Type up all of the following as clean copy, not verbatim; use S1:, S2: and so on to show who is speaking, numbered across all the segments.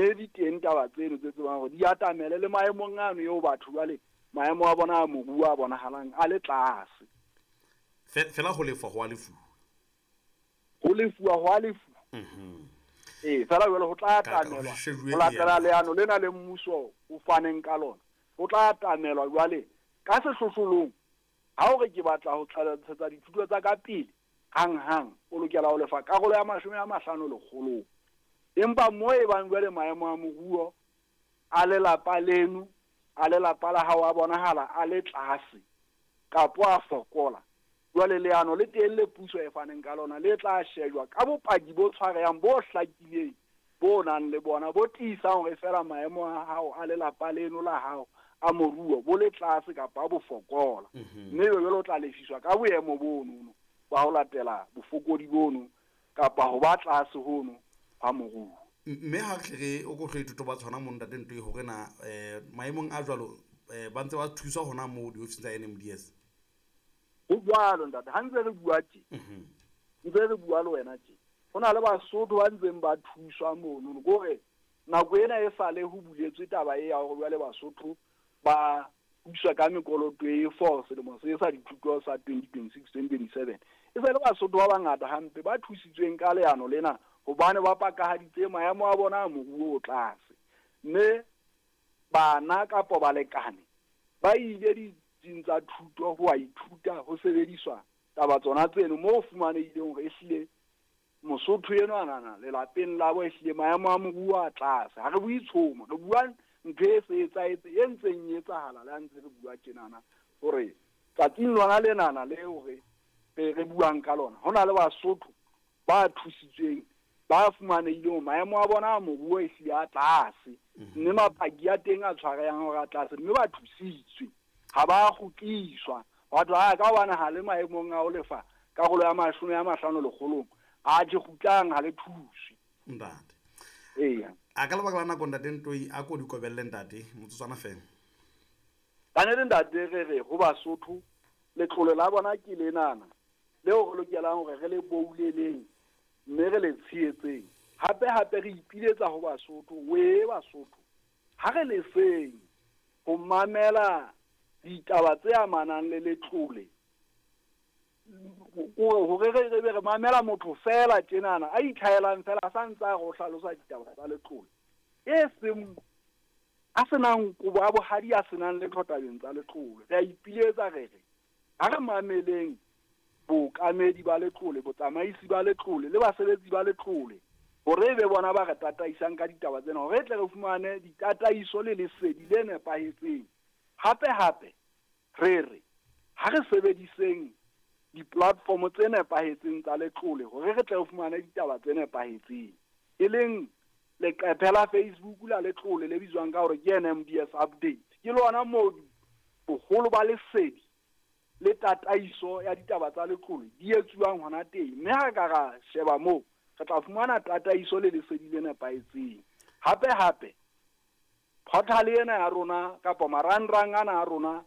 S1: Mme di teng taba tseno tse tsebang hore di atamele le maemong ano eo batho jwale maemo a bona a moruo a bonahalang a le tlase.
S2: Fela ho lefa ho a lefuwa.
S1: Ho lefuwa ho a lefuwa. Ee, fela jwale ho tla atamelwa ho latela leano lena le mmuso o faneng ka lona. Ho tla atamelwa jwale ka sehlohlolong ha o re ke batla ho ntshetsa dithuto tsa ka pele hang-hang, o lokela ho lefa karolo ya 50 lekgolong. Empa mo e bang jwale maemo a moruo a lelapa leno, a lelapa la hao a bonahala a le tlase kapo a fokola, jwale leano le teng le puso e faneng ka lona le tla shejwa ka bopaki bo tshwarehang bo hlakileng bo nang le bona bo tiisang hore feela maemo a hao a lelapa leno la hao a moruo bo le tlase kapa bo fokola. Mme jwale o tla lefiswa ka boemo bono ba ho latela bofokodi bono kapa ho ba tlase hono ha moruo.
S2: Mme ha re re o ko hle ba tshwana mo ntate ntwe hore na maemong a jwalo ba ntse ba thuswa hona moo diofising tsa NMDS.
S1: Ho jwalo ntate, ha ntse re bua tje. Ntse re bua le wena tje. Ho na le Basotho ba ntseng ba thuswa mono ke hore nako ena e sale ho buletswe taba e ya hore jwale Basotho ba thuswa ka mekoloto e for selemo se sa dithuto sa 2026-2027. E se le Basotho ba bangata hampe ba thusitsweng ka leano lena hobane ba pakahaditse maemo a bona a moruo o tlase. Mme bana kapa balekane ba ile ditsing tsa thuto ho a ithuta ho sebediswa taba tsona tseno moo fumanehileng hore ehlile Mosotho enwa nana lelapeng la bo ehlile maemo a moruo a tlase. Ha re bue tshomo, re bua ntho e se etsahetse e ntseng e etsahala le ha ntse re bua tjenana hore tsatsing lona lenana le hore re buang ka lona ho na le Basotho ba thusitsweng ba fumanehileng maemo a bona a moruo ehlile a tlase. Mme mapaki a teng a tshwarehang hore a tlase mme ba thusitswe ha ba kgutliswa. Batho ha ka hobane ha le maemong a ho lefa karolo ya 50 lekgolong a tje kgutlang ha le thuswe.
S2: Ntate.
S1: Eya.
S2: A ka lebaka la nako ntate Ntoi a ko di kobelle ntate motsotswana fela.
S1: Ka nnete ntate re re ho Basotho letlole la bona ke lenana leo re lokelang hore re le bouleleng mme re le tshehetseng. Hape hape re ipiletsa ho Basotho, we Basotho ha re leseng ho mamela ditaba tse amanang le letlole hore re be re mamela motho fela tjenana a itlhaelang fela a sa ntse a re o hlalosa ditaba tsa letlole e seng a senang kobo a bohadi a senang letho tabeng tsa letlole. Re a ipiletsa re re ha re mameleng bookamedi ba letlole, botsamaisi ba letlole le basebetsi ba letlole hore e be bona ba re tataisang ka ditaba tsena hore e tle re fumane ditataiso le lesedi le nepahetseng. Hape hape re re ha re sebediseng di-platform tse nepahetseng tsa letlole hore re tle re fumane ditaba tse nepahetseng, e leng leqephe la Facebook la letlole le bitswang ka hore ke NMDS update. Ke lona moo boholo ba lesedi le tataiso ya ditaba tsa letlole di etsuwang hona teng. Mme ha re ka ra sheba moo re tla fumana tataiso le lesedi le nepahetseng. Hape hape portal ena ya rona kapa marangrang ana a rona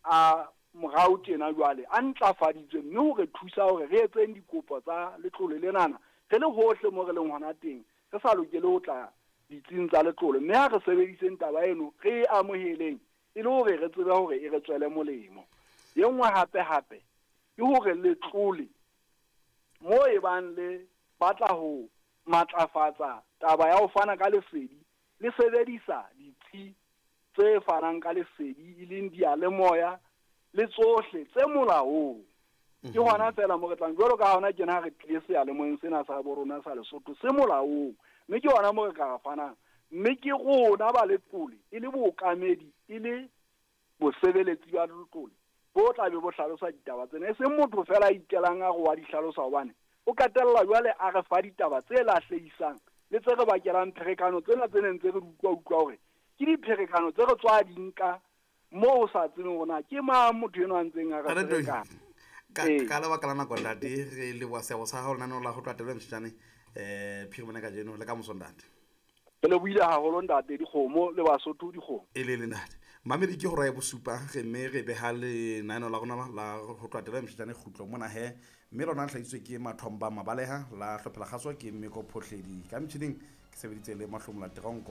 S1: a morao tjena jwale a ntlafaditswe mme ho re thusa hore re etseng dikopo tsa letlole lenana re le hohle mo re leng hona teng, re sa lokele ho tla ditsing tsa letlole. Mme ha re sebediseng taba eno re e amoheleng e le hore re tsebe hore e re tswele molemo. E nngwe hape hape ke hore letlole mo e bang le batla ho matlafatsa taba ya ho fana ka lesedi le sebedisa ditsi tse fanang ka lesedi e leng diyalemoya le tsohle tse molaong. Ke hona fela mo re tlang jwalo ka hona tjena ha re tlile seyalemoyeng sena sa bo rona sa Lesotho se molaong, mme ke hona mo re ka fanang. Mme ke rona ba letlole e le bookamedi e le bosebeletsi ba letlole bo tla be bo hlalosa ditaba tsena, e seng motho fela a ikelang a re wa di hlalosa hobane o qetella jwale a re fa ditaba tse lahlehisang le tse re bakelang pherekano tsena tse neng tse re di utlwa hore ke dipherekano tse re tswa di nka moo o sa tsebeng hore na ke mang motho enwa a ntseng a re ferekana.
S2: Ka lebaka la nako ntate re leboha seabo sa hao lenaneo la ho tloha tebele Mshitshane phirimane kajeno le ka moso ntate.
S1: Re lebohile haholo ntate dikgomo le Basotho dikgomo.
S2: E le le ntate. Mamedi ke hora ya bosupa re mme re beha lenaneo la rona la ho tloha tebele Mshitshane kgutlo mona he mme lona le hlahisitswe ke Mathomba Mabaleha la hlophela kgaso ke Mmeko Phohledi ka metjhining ke sebeditse le Mahlomola Teronko.